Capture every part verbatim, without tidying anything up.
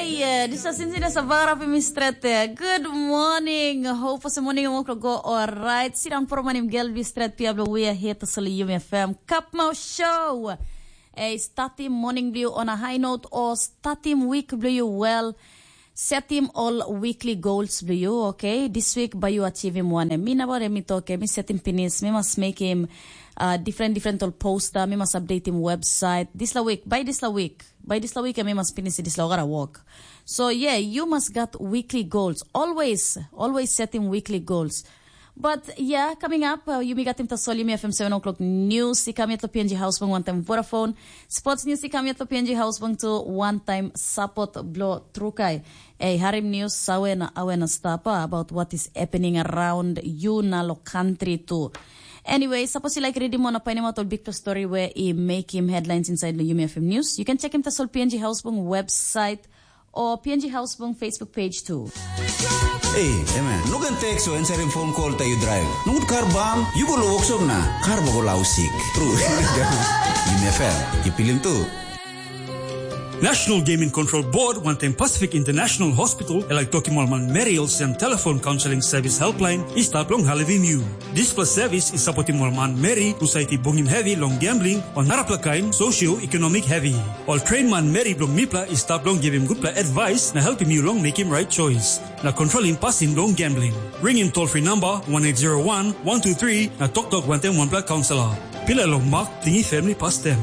Yeah, this is Sinzina Savara for Miss Trete. Good morning. Hope for morning and walk go all right. Sit down for morning, girl, be straight. Piablo, we are here to sell you my fam. Cup Mouth Show. Hey, start him morning blue on a high note or start him week blue well. Set him all weekly goals blue, okay? This week, by you achieve him one. Me na about me talk, me set him finish. Me must make him uh, different, different all poster. Me must update him website. This la week, by this la week. By this la week, me must finish this la gotta work. So yeah, you must got weekly goals. Always, always setting weekly goals. But yeah, coming up, uh, yumi got him to Sol Yumi F M seven o'clock news. He come yet to P N G House Bung one time Vodafone. Sports news, he come yet to P N G House Bung to one time support blow trukai. Hey, harim news, sawe na awe na stapa about what is happening around you na lo country too. Anyway, suppose you like reading more na painim out all big story where he make him headlines inside the Yumi F M news. You can check him to Sol P N G House Bung website or P N G House Bung Facebook page too. Ei, emen, no ken tek so answering phone call ta yu drive. Nungut kar bam, yu go lo workshop na kar ba go lau sik. True. Yumi F M, yu pilim tu. National Gaming Control Board wantaim Pacific International Hospital e laik tokim ol manmeri olsem telefon kaunseling sevis helpline i stap long helpim yu. Dispela sevis i sapotim ol manmeri husat i bungim hevi long gambling o narapela kain socio-economic hevi. Ol train manmeri bilong mipela i stap long givim gutpela advice na helpim yu long mekim right choice na kontrolim pasin long gambling. Ringim toll free number one eight zero one one two three na toktok wantaim wanpela kaunselor. Pila long mak tingi family pastem.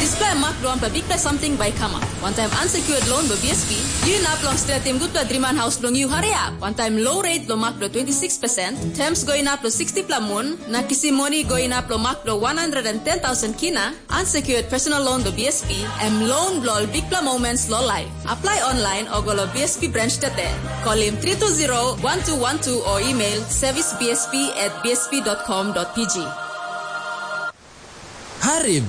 Dispela mak bilong wanpela bikpela samting bai i kamap. Wantaim unsecured loan bilong B S P, yu inap long stretim gutpela driman haus bilong yu hariap. Wantaim low rate bilong mak bilong twenty six percent, terms go inap long sixty pela mun, na kisim moni go inap long mak bilong one hundred and ten thousand kina, unsecured personal loan bilong B S P, em loan bilong ol bikpela moments long life. Apply online o go long B S P branch tete. Call him three two zero one two one two or email service B S P at B S P dot com dot P G. Harim!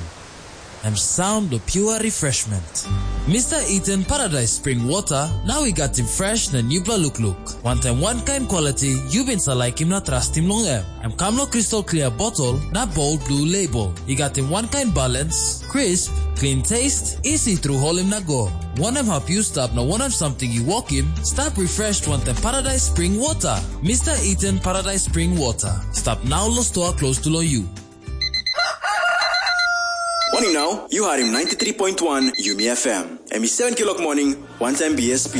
Em sound bilong pure refreshment. Mister Eden Paradise Spring Water, now we got him fresh na newbla look look. One time one kind quality, you been sa like him na trust him long em. Em kam lo crystal clear bottle na bold blue label. I gat him one kind balance, crisp, clean taste, easy through holim na go. Wanem hap you stap na wanem something you walk him, stap refreshed wantaim Paradise Spring Water. Mister Eden Paradise Spring Water. Stap now lo store close to lo you. Morning now, you are in ninety-three point one Yumi F M. Em i seven kilok morning, one time B S P.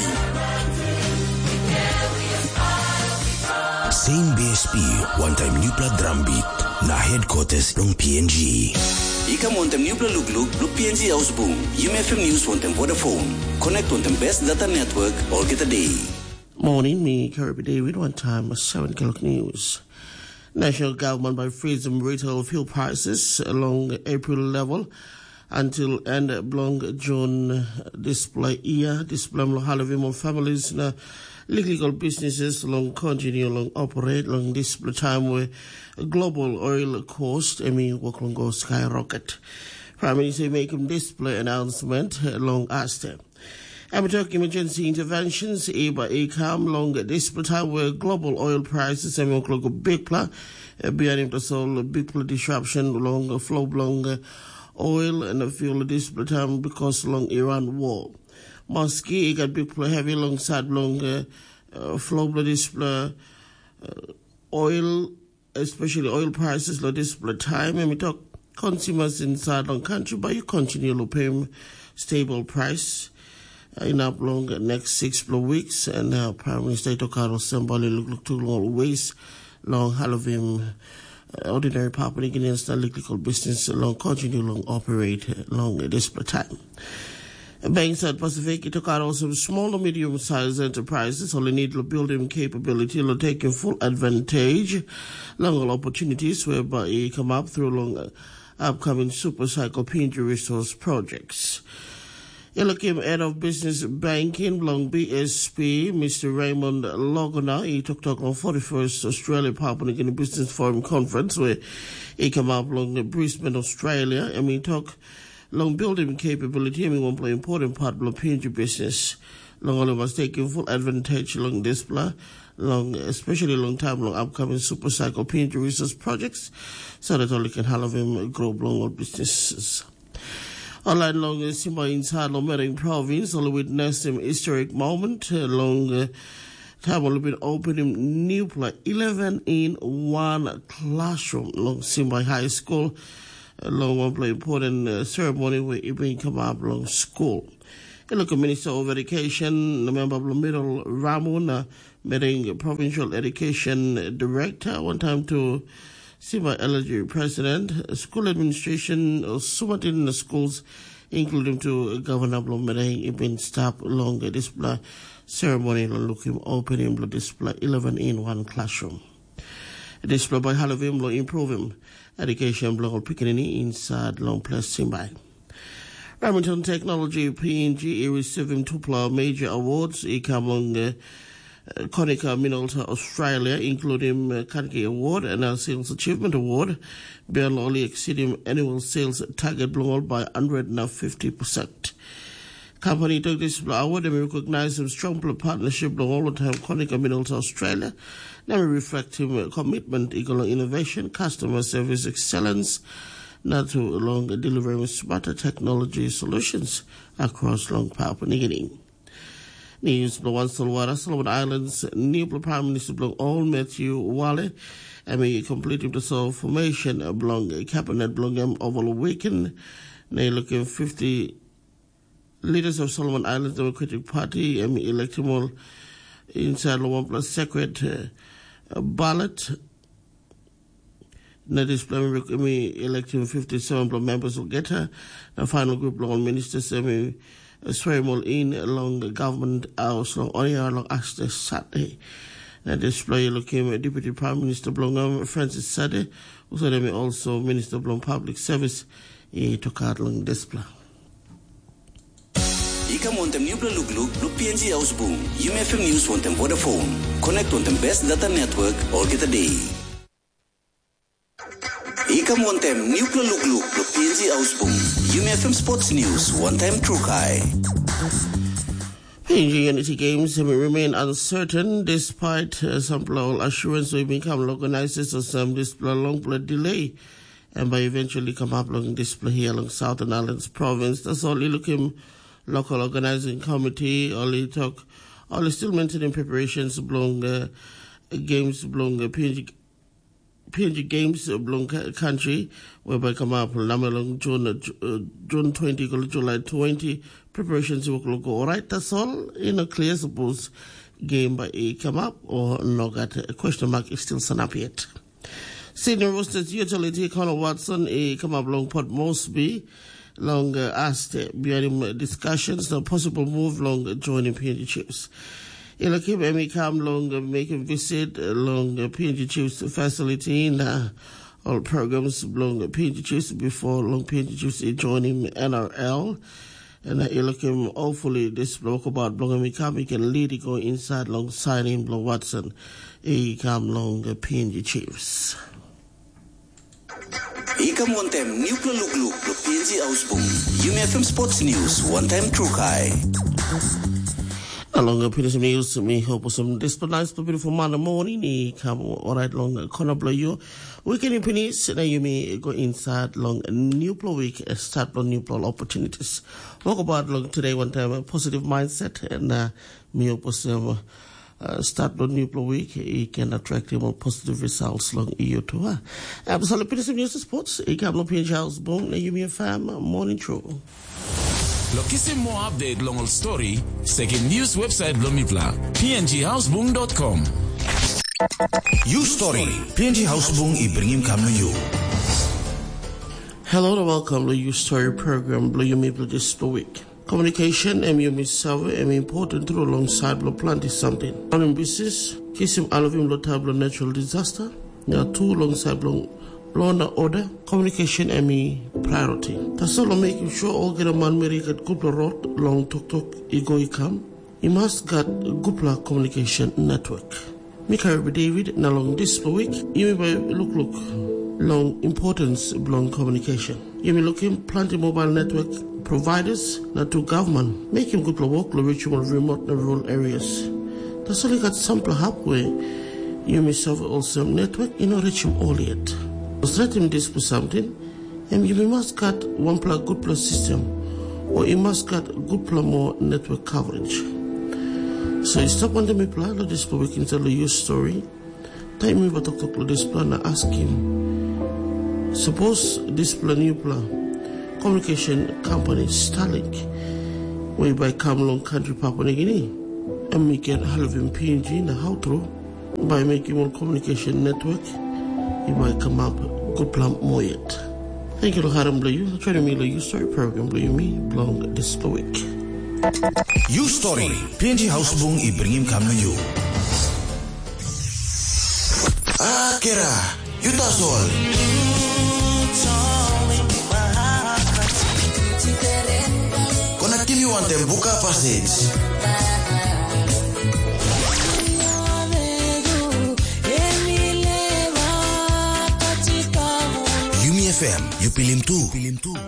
Same B S P, one time newpela drum beat, na headquarters long P N G. I kam wantaim newpela lukluk bilong P N G Ausbung, Yumi F M News wantaim Vodafone. Connect wantaim best data network olgeta day. Morning, me Kirby David, one time seven o'clock news. National government by freezing retail fuel prices along April level until end belong June display year. Display lo halivim ol families na legal businesses long continue long operate long display time where global oil cost emi work long go skyrocket. Prime Minister making display announcement long Aste. Em tok emergency interventions i ba i kam long dispela taim where global oil prices em oklok bikpela. Bianim tasol bikpela disruption long flow bilong oil and fuel dispela taim because long Iran war. Maski i gat bikpela heavy long side bilong flow bilong dispela oil, especially oil prices lo dispela time, em i tok consumers inside long country by you continue lo pay stable price uh, in up long next six pla weeks and uh, Prime Minister i tok aro sembali look look to long ways long halivim uh, ordinary public in instant legal business long continue long operate long dispela time. Banks at Pacific i tok aro some small and medium sized enterprises only need to build them capability to take a full advantage long all opportunities whereby it come up through long uh, upcoming super cycle P N G resource projects. Elakim head of business banking long B S P, Mister Raymond Logona, he took talk on forty-first Australia Papua New Guinea Business Forum Conference where he came up long Brisbane, Australia, and he talk long building capability em i wanpela important part bilong P N G business. Long ol i mas taking full advantage long dispela, long especially long time long upcoming super cycle P N G resource projects, so that ol i can halivim grow bilong ol businesses. Alright, long Simba inside long Mering province, ol witness some historic moment uh, long uh, time ol bin opening newpla eleven in one classroom long Simba High School. Uh, long one play important uh, ceremony where it been come up long school. Local Minister of Education, the member of Middle Ramuna, Mering Provincial Education Director, one time to Simba L G President, school administration, uh, sumatin schools, including to Governor Blombereng, ibin stap long dispela ceremony lo lukim opening lo dispela eleven in one classroom. Dispela bai halavim lo improvim education bilong ol pikinini inside long ples Simbai. Remington Technology P N G i receiving tupla major awards i kam long uh, Konica Minolta Australia, including uh, Kanki Award and a Sales Achievement Award, Bell only exceeding annual sales target belong by one hundred and fifty percent. Company took this award and recognize some strong partnership long all the time Konica Minolta Australia. Now reflect him commitment equal innovation, customer service excellence, not too long delivering smarter technology solutions across long Papua New Guinea. News bilong wan Solwara, Solomon Islands, new Prime Minister bilong all Matthew Wale, and we complete the formation bilong cabinet bilong him over the weekend. They looking fifty leaders of Solomon Islands Democratic Party and elect him all inside the one plus secret uh, ballot. Na dispela mi election fifty-seven bilong members olgeta. Na final group long ministers em i swerim ol in long government house long onia long aste Saturday. Na dispela i lukim deputy prime minister bilong em Francis Sade, usaid em also minister bilong public service i tokat long dispela. I kam wantem nupela lukluk blo P N G Ausbung, Yumi F M News wantem Vodafone. Connect wantem best data network olgeta day. I kam wantem nupela lukluk blo P N G Ausbung, Yumi F M Sports News wantem Trukai. P N G Unity Games have remain uncertain despite uh, some assurance we become organizers of some display long play delay. And by eventually come up along display here along Southern Islands province. That's all you look him local organizing committee, all he talk, all he still maintaining preparations belong uh, games belong uh, P N G P N G Games bilong country whereby come up lama long June uh, June twenty go July twenty preparations work look all right. That's all in a clear suppose game by a come up or no got a question mark is still sun up yet. Senior Roosters utility Connor Watson e come up long Port Moresby long uh, aste bihanim discussions na possible move long joining P N G Chiefs. Ila kim em i kam long uh, making visit uh, long uh, P N G Chiefs facility na all programs belong P N G Chiefs before long P N G Chiefs i joining N R L. And uh, ila kim hopefully this walkabout belong em i kam i can lead i go inside long signing belong Watson i kam long uh, P N G Chiefs. I kam wantem nupela lukluk blo P N G Ausbung, Yumi F M Sports News wantem Trukai. Along uh, P N G News, mi hope some disciplinized for beautiful Monday morning. I kam alright long uh, corner below you. Weekend in Pinis, na Yumi go inside long nupela week, uh, start long nupela opportunities. Walk about long today one time a positive mindset and uh, mi hope some uh, start the new week, it can attract more positive results long you too. Huh? Absolutely, P N G News Sports, it can be House Boom, you may fam morning true. Lo kisim more update long ol story, sekim news website bilong mipela, P N G houseboom dot com. You story, P N G houseboom i bringim kam na you. Hello and welcome to your story program, Blue You Maple this week. Communication em yumi save em important tru long side bilong planti samting. Long business, kisim alvim long time bilong natural disaster, na tu long side bilong law na order, communication em i priority. Tasol long making sure olgeta manmeri i gat gutpela rot long toktok i go i kam, i mas gat gutpela communication network. Mi karim David na long dispela wik yumi bai lukluk long importance bilong communication. Yumi lukim planti mobile network providers na tu gavman mekim gutpela wok long richim ol remote na rural areas. Tasol i gat sampela hap we yumi save olsem network i no richim ol yet. Stretim dispela samting, em yumi mas gat wanpela gutpela sistem o i mas gat gutpela moa network coverage. So i stap wantaim mipela long dispela wik insait long Your Story. Taim mi bai toktok long dispela na askim, sapos dispela newpela communication company Starlink, we bai kam long kantri Papua Nigini, em i ken helpim P N G na hau tru bai mekim ol communication network i bai kamap gutpela moa yet. Thank you long harim bilong yu, joining mi long Your Story program bilong yumi bilong dispela wik. Your Story, P N G Hausbung i bringim kam na yu. Akera, yu tasol. Konektim yu wantaim buka pasage. Yumi F M, yu pilim tu.